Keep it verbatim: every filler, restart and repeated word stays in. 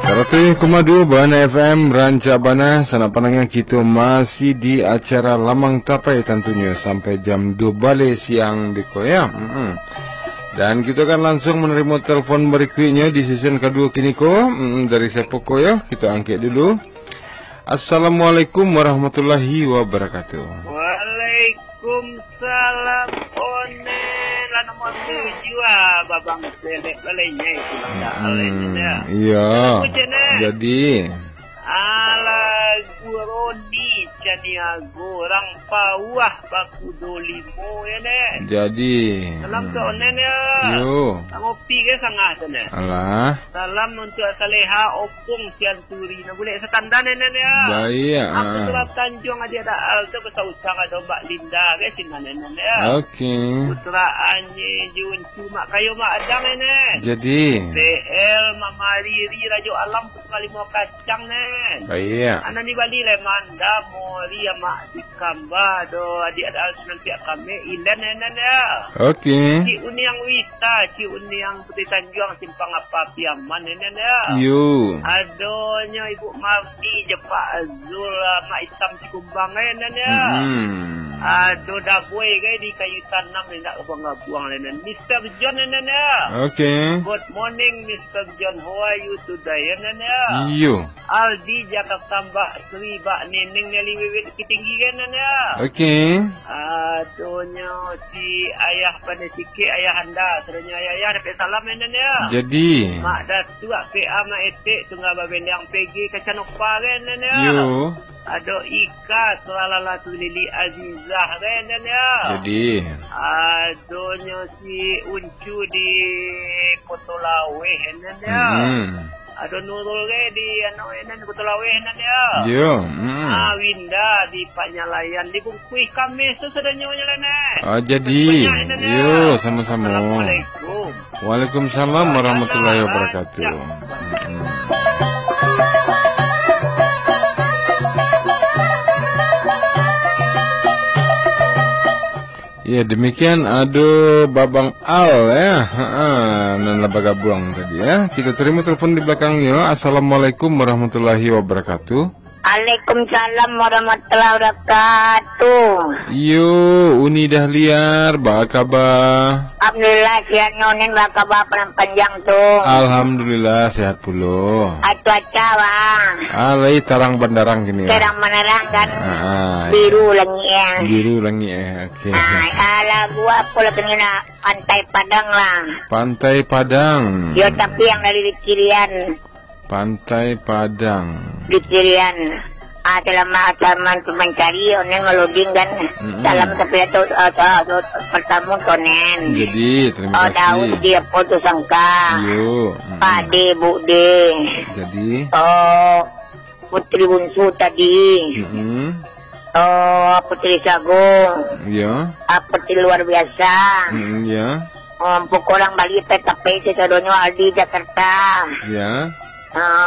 Saratus koma duo Bahana F M, rancak bana, sanak pandanga, kito masih di acara Lamang Tapai tantunyo sampai jam duo baleh siang beko, yo. Mm-mm. Dan kito akan langsung manarimo telepon barikuiknyo di season kaduo kini ko. Mm-mm, dari siapo ko, yo? Kito angkek dulu. Assalamualaikum warahmatullahi wabarakatuh. Waalaikumsalam. Salam Onen, lah nomor tujuah, ah, Babang Selek lah, lenyai pulang dah, hmm, lenyai dah. Iya. Lagu cen, eh. Jadi. Alah, lagu Roni Caniago, Rang Pawah Bakudo Limo, ya, Nek. Jadi. Salam hmm. Ke Onen, ya. Yo. Ngopi ke sangah tu, Nek? Alah. Salam untuk Saleha, Opung, Sian Suri, nah, bulek satandan, Nen, ya. Baik, ah. Aku Surat Tanjuang, Adia Daal tu, Basa Usang, ado Mbak Linda, ke, sinan, Nen, ya. Oke. Putra Anye, Juncu, Mak Kayo, Mak Adang, Nen. Jadi. T L, Mama Riri, Rajo Alam, Putra Limo Kacang, Nen. Baik. Anak ni Bali, Lemanda, Mori, Mak Dikamba, do, Adia Daal, sinan, Piak Kame, Ilen, Nen, ya. Oke. Cik Uniang Wita, Cik Uniang Putih Tanjuang, Simpang Apa Piaman, Nen, ya. Yo. Adonyo Ibu Mardi, Jepak Azul, Mak Itam Cikumbang, eh, Nen, ya. Hmm. Ado Daboi, gai, di Kayu Tanam, ni nak gabuang-gabuang, Nen. Mister John, Nen, ya. Oke. Good morning, Mister John. How are you today, Nen, ya? Iyo. Aldi Jakarta, Mbak Sri, Mbak Neneng, Nelly Wiwit Bukittinggi, kan, Nen, ya? Oke. Adonyo si Ayah Pandai Sikit, Ayah Anda, sadonyo ayah-ayah, dapek salam, Nen, ya? Jadi. Mak Datuak, P A, Mak Etek, Tunggal Babeliang, P G, Kacanova, kan, Nen, ya? Yo. Ado Ika, Sulalala, Sulili, Azizah, kan, Nen, ya? Jadi. Adonyo si Uncu di Koto Laweh, Nen, ya? Hmm. Ado Nurul ge di, anu, Nen, Koto Laweh, Nen, ya? Yo, mm. Ah, Winda di Panyalayan, di Bungkuih Kameh tu sadonyo nyo, Nen. Ah, jadi. Banyak, Nen, ya? Yo, sama-sama. Assalamualaikum. Waalaikumsalam warahmatullahi wabarakatuh. Mm-mm. Ya, demikian ado Babang Al, ya. Ha, nan lah bagabuang tadi, ya. Kita terima telepon di belakangnya. Assalamualaikum warahmatullahi wabarakatuh. Waalaikumsalam warahmatullahi wabarakatuh. Iyo, Uni Dahliar, ba kaba? Alhamdulillah, sihat nyo, Nen, ba kaba, Padang Panjang tu? Alhamdulillah, sehat pulo. Ah, cuaca, Bang? Ah, lai tarang bandarang kini, ya. Tarang bandarang, kan? Ah, biru langik, ya. Biru langik, ya. Oke. Ah, ah, lagu apo lagu ni nak? Pantai Padang lah. Pantai Padang. Yo, tapi yang dari di kirian. Pantai Padang. Di kirian. Ah, selama Salman tu mancari, Onen ngaloding kan. Mm-mm. Salam tapi tu, ah, tu, ah, tu, pertama tu, Onen. Jadi, terima kasih. Oh, Daud di apo tu sangka. Yo. Mm-mm. Pak De, Bu De. Jadi. Oh, Putri Bunsu tadi. Mm-mm. Oh, Putri Sagung. Yo. Ah, Putri Luar Biasa. Mm-mm, yo. Oh, pokok urang Bali, P K P, sadonyo Aldi Jakarta. Yo. Ah,